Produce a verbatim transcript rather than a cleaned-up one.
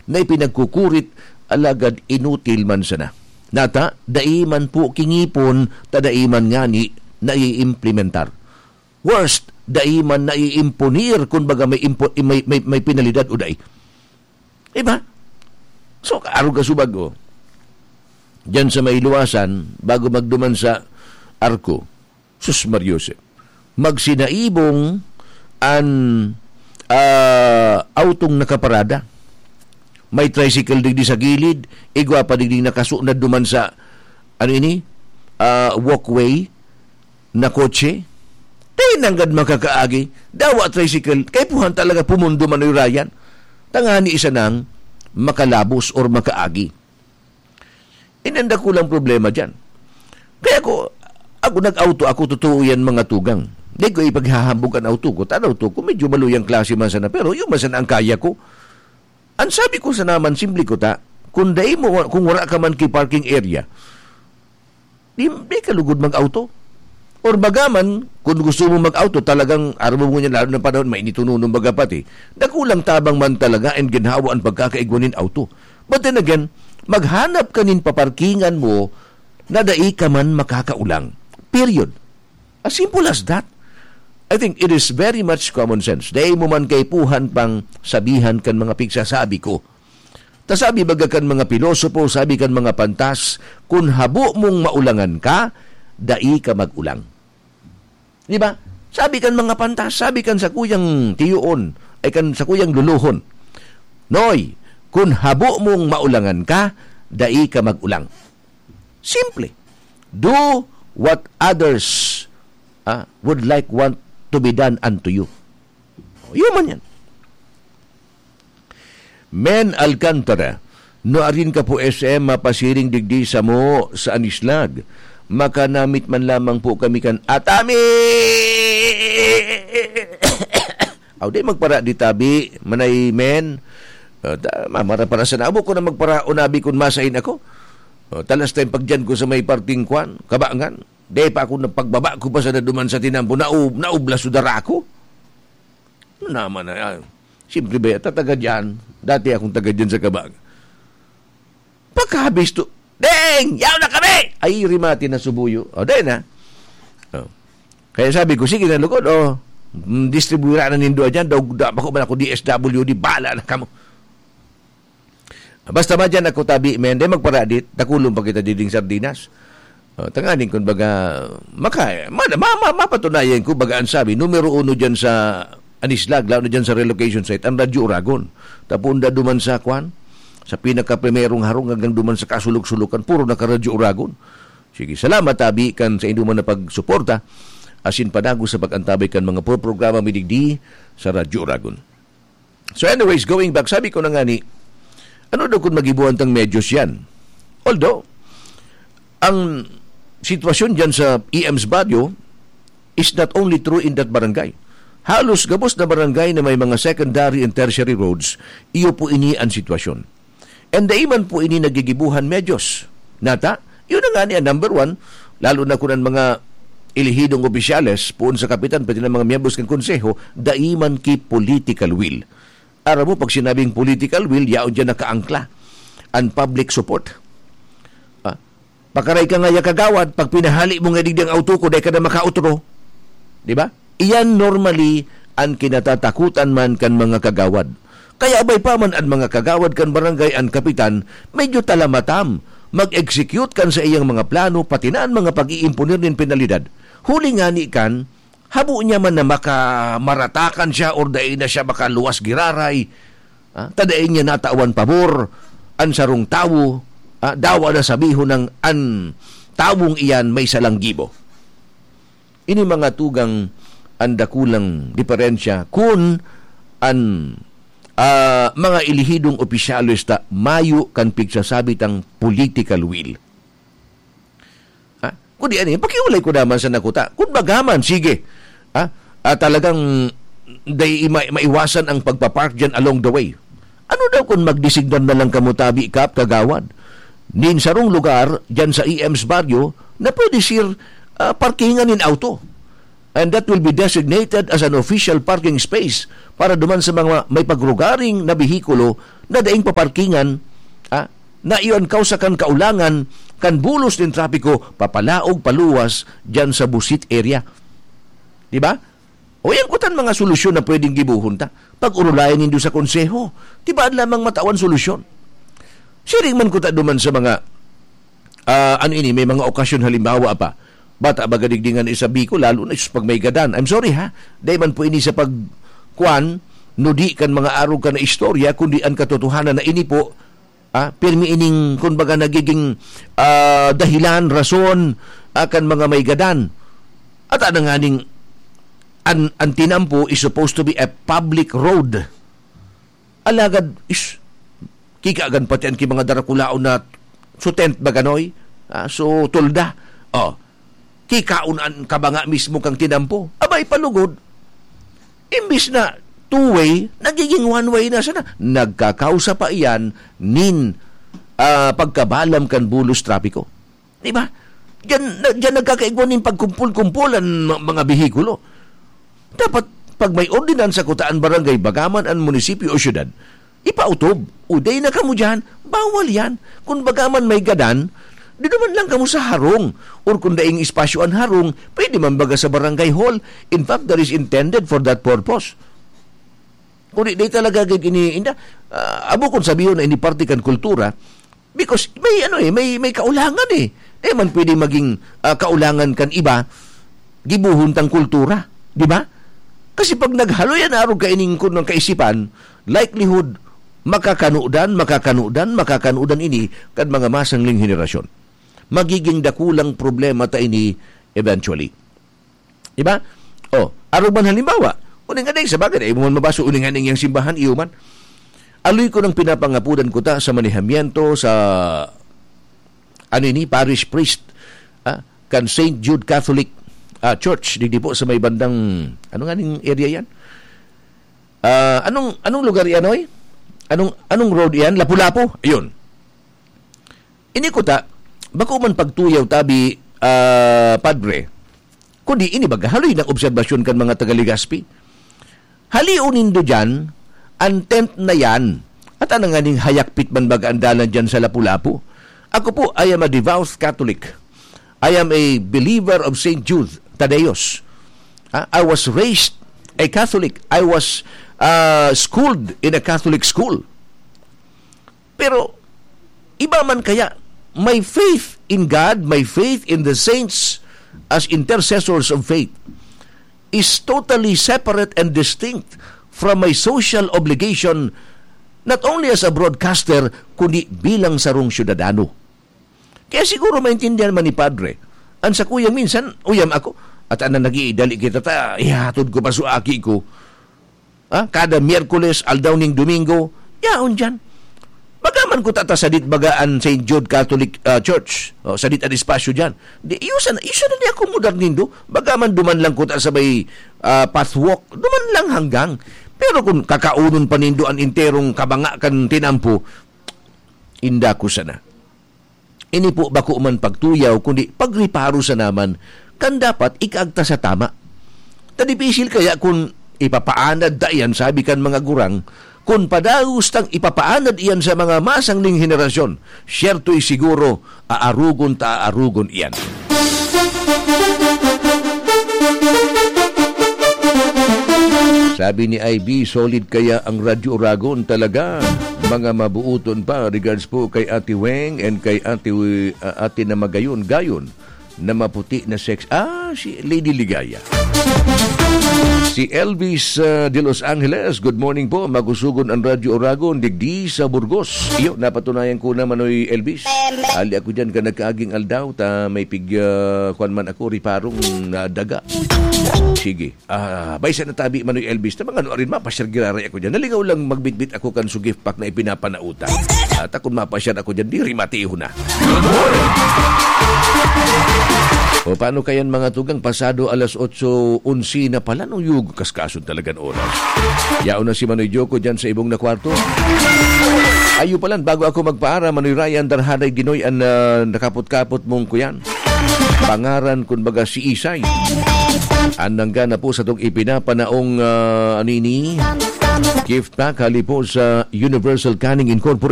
na ipinagkukurit, alagad inutil man sana. Nata, dai man po kingipon, ta dai man ngani naiimplementar. Worst, dai man naiimponir kun baga may impo-, may, may, may penalidad o dai. Diba? So, arog ka subag, oh. Diyan sa may luwasan, bago magduman sa Arco, sus, Mariosep. Magsinaibong an, ah, autong nakaparada. May tricycle digdi sa gilid, igwa pa digdi nakasunod duman sa, ano ini? Ah, walkway na kotse. Dai nanggad makakaagi. Dawa tricycle, kaipuhan talaga pumundo manoy rayan. Tangani isa nang makalabos or makaagi. Ini ang dakulang problema diyan. Kaya ko, ako nag-auto ako, totoo yan, mga tugang. Di ko ipaghahambog an auto ko. Tan auto ko, medyo maluyang klase man sana, pero yun man sana ang kaya ko. Ang sabi ko sa naman, simple ko ta, kung dai mo, kung wala ka man ki parking area, di, di ka lugod mag-auto. Or bagaman, kung gusto mo mag-auto, talagang araw mo niya, lalo ng panahon, mainit uno, nung baga pati, dakulang tabang man talaga and ginhawa ang pagkakaigwa nin auto. But then again, maghanap ka nin paparkingan mo na dai ka man makakaulang. Period. As simple as that. I think it is very much common sense. Dai mo man kaipuhan pang sabihan kan mga pigsasabi ko. Ta sabi baga kan mga pilosopo, sabi kan mga pantas, "Kun habo mong maulangan ka, dai ka mag-ulang." Di ba? Sabi kan mga pantas, sabi kan sakuyang tiyoon, ay kan sakuyang luluhon, "Noy, kun habo mong maulangan ka, dai ka mag-ulang." Simple. Do what others, ah, would like want to be done unto you. Yun man yan. Men Alcantara, nuarin ka po S M mapasiring digdi samo sa Anislag. Makanamit man lamang po kami kan Atami! Aw, di magpara di tabi, manay men. Ah, ta-, mamara para sa nabo ko na magpara o nabi kun masain ako. Oh, talas tayong pagdiyan ko sa may parting kwan, kabangan. Di pa ako napagbaba ko pa sa naduman sa tinampo, naub-, naublas so dara ko. Ano naman na, ah, siyempre ba, ta-, taga diyan. Dati akong taga diyan sa Kabang. Pagkabisto, "Deng! Yaw na kami!" Ay, rimati na subuyo. O, dahil na. O. Kaya sabi ko, "Sige na, lugod, o. Mm, distribuira na nindo dyan. Daw, da, bako man ako D S W D. Bala na kamo." Basta madyan ako tabi, men, di magparadit, dakulon pa kita diding sardinas. O, tanganing kun baga, maka-, ma-, ma-, ma-, mapatunayan ko, baga ang sabi, numero uno dyan sa Anislag, lalo na dyan sa relocation site, ang Radyo Uragon. Tapunda duman sa kwan, sa pinakaprimerong harong hanggang duman sa kasulok-sulokan, puro naka-Radyo Uragon. Sige, salamat, tabi, kan sa indo man na pagsuporta, asin panago sa pag-antabay kan mga programa mi digdi sa Radyo Uragon. So anyways, going back, sabi ko na nga ni, ano daw kung magibuhan tang medyos yan? Although, ang sitwasyon dyan sa E M's Barrio is not only true in that barangay. Halos gabos na barangay na may mga secondary and tertiary roads, iyo po ini ang sitwasyon. And dai man po ini nagigibuhan medyos. Nata, yun na nga ni ang number one, lalo na kung ang mga elihidong opisyales, poon sa kapitan, pati ng mga miyembros ng konseho, dai man ki political will. Aram mo, pag sinabing political will, yaon dyan nakaangkla ang public support. Ah, pakaray ka nga ya kagawad, pag pinahali mo nga digdi ang auto ko, dai ka na makautro. Di ba? Iyan normally ang kinatatakutan man kan mga kagawad. Kaya abay pa man an mga kagawad kan barangay an kapitan, medyo talamatam, mag-execute kan sa iyang mga plano, pati na an mga pag-iimponer nin penalidad. Huli ngani kan, habo niya man na maka-, maratakan siya or dai na siya makaluwas giraray. Ah, ta dai niya natawan pabor an sarong tawo, ah, dawa na sabihon nang an tawong iyan may salang gibo. Ini mga tugang an dakulang diferensya kun an, ah, mga elihidong opisyales ta mayo kan pigsasabi tang political will. Ha? Kundi ano, pakiulay ko naman sa nakuta. Kun baga man, sige. Ha? Ah, talagang dai ma-, maiwasan ang pagpapark dyan along the way. Ano daw kung magdesignar na lang kamo tabi, Kap, Kagawad? Nin sarong lugar dyan sa E M's Barrio na pwede, sir, ah, parkingan nin auto. And that will be designated as an official parking space para duman sa mga may pagrugaring na behikulo na daing paparkingan, ah, na iyon kausa kan kaulangan kan bulos nin trapiko papalaog paluwas diyan sa busit area. Di ba? O yan kutan mga solusyon na pwedeng gibuhon ta. Pag-urulayan nindo sa konseho, tibaan lamang matawan solusyon. Siring man kuta duman sa mga, ah, ano ini, may mga okasyon, halimbawa pa, bata baga digdi nga isabi ko, lalo na sus, pag may gadan. I'm sorry ha, dahil man po ini sa pag, kwan, nudi kan mga arog ka na istorya, kundi ang katotohanan na ini po, ah, pirmi ining, kumbaga, nagiging, ah, dahilan, rason, ah, kan mga may gadan. At ano nga ning, an, an tinampo is supposed to be a public road. Alagad, is, kikagan pati an ki mga darakulaon na so tent ba ganoy? Ah, so tolda. Oh, kikaon an kabanga mismo kang tinampo. Abay, palugod. Imbis na two-way, nagiging one-way na sana. Nagkakausa pa iyan nin, ah, pagkabalam kan bulos trapiko. Di ba? Diyan, na, diyan nagkakaigwa nin pagkumpul-kumpul an ma-, mga behikulo. Dapat, pag may ordinansa kuta an barangay, bagaman an munisipyo o syudad, ipautob, "Uday na kamo diyan, bawal yan." Kung bagaman may gadan, di naman lang kamo sa harong. Or kung daing espasyo an harong, pwede man baga sa barangay hall. In fact, that is intended for that purpose. Kung di, di talaga gid ini, inda, ah, abo kung sabihon na ini parte kan kultura, because may, ano eh, may, may kaulangan eh. Di man pwede maging, ah, kaulangan kan iba, gibuhon tang kultura, di ba? Kasi pag naghaloy an arog kaining kun ng kaisipan, likelihood, makakanudan, makakanudan, makakanudan ini kan mga masangling henerasyon. Magiging dakulang problema ta ini eventually. Di ba? Oh, arog man halimbawa, uning anay, sa bagay, ay mo man mabaso, uning anay yang simbahan, iyo man. Aloy ko nang pinapangapudan ko ta sa manihamiento, sa, ano ini, parish priest, ah, kan Saint Jude Catholic, ah, Church, digdi po sa may bandang, ano nga ning area yan? Ah, anong, anong lugar yan, oy? Anong, anong road yan? Lapu-Lapu? Ayun. Ini kuta, bako man pagtuyaw tabi, ah, Padre, kundi ini baga haloy ng obserbasyon kan mga taga Legazpi. Halion nindo diyan, an tent na yan, at anang nganing hayakpit man baga ang dalan diyan sa Lapu-Lapu. Ako po, I am a devout Catholic. I am a believer of Saint Jude Thaddeus. Ah, I was raised a Catholic. I was, ah, schooled in a Catholic school. Pero, iba man kaya, my faith in God, my faith in the saints as intercessors of faith is totally separate and distinct from my social obligation, not only as a broadcaster, kundi bilang sarong syudadano. Kaya siguro maintindihan man ni Padre, ang sakuyang minsan, uyam ako, at anang nag-iidali kita ta, ihatod ko pa sa aki ko. Ah, kada Miyerkules, aldaw ning Domingo, yaon diyan. Baga man kuta ta sadit baga an Saint Jude Catholic, ah, Church. O, sadit an espasyo diyan. Di, iyo sana, iyo sana ni akomodar nindo. Baga man duman lang kuta sa may, ah, pathwalk. Duman lang hanggang. Pero kung kakaunon pa nindo an enterong kabanga kan tinampo, inda ko sana. Ini po bako man pagtuyaw, kundi pagreparo sana man kan dapat ikaagta sa tama. Ta dipisil kaya kun ipapaanad ta iyan, sabi kan mga gurang, kun padagos tang ipapaanad iyan sa mga masangling henerasyon, siyerto'y siguro, aarugon ta aarugon iyan. Sabi ni I B, solid kaya ang Radyo Oragon talaga. Mga mabuoton pa. Regards po kay Ate Weng and kay Ate, uh, Ate na magayon-gayon na maputi na sex. Ah, si Lady Ligaya. Si Elvis, uh, de Los Angeles, "Good morning po. Makusugon ang Radyo Oragon, digdi sa Burgos." Iyo, napatunayan ko naman, oy, Elvis. Ali ako dyan ka nagkaaging aldaw, ta may pig, uh, kwan man ako, riparong na daga. Sige. Ah, bay sa natabi man ni Elvis, na mga ano rin, mapasyar giraray ako dyan. Nalingaw lang magbitbit ako kan sugif pack na ipinapanauta. At akong mapasyar ako dyan, diri matiho na. O paano kayan mga tugang, pasado alas otso onse na pala nung yug kaskason talagan oras. Yaon na si Manoy Joko dyan sa ibong na kwarto. Ayo palan, bago ako magpaara, Manoy Ryan, darhaday ginoy an, ah, nakapot-kapot mong kuyan. Pangaran, kun baga, si Isay. An nanggana po sa tong ipinapanaong, ah, ano ini? Gift pack, hali po sa Universal Canning Incorporated.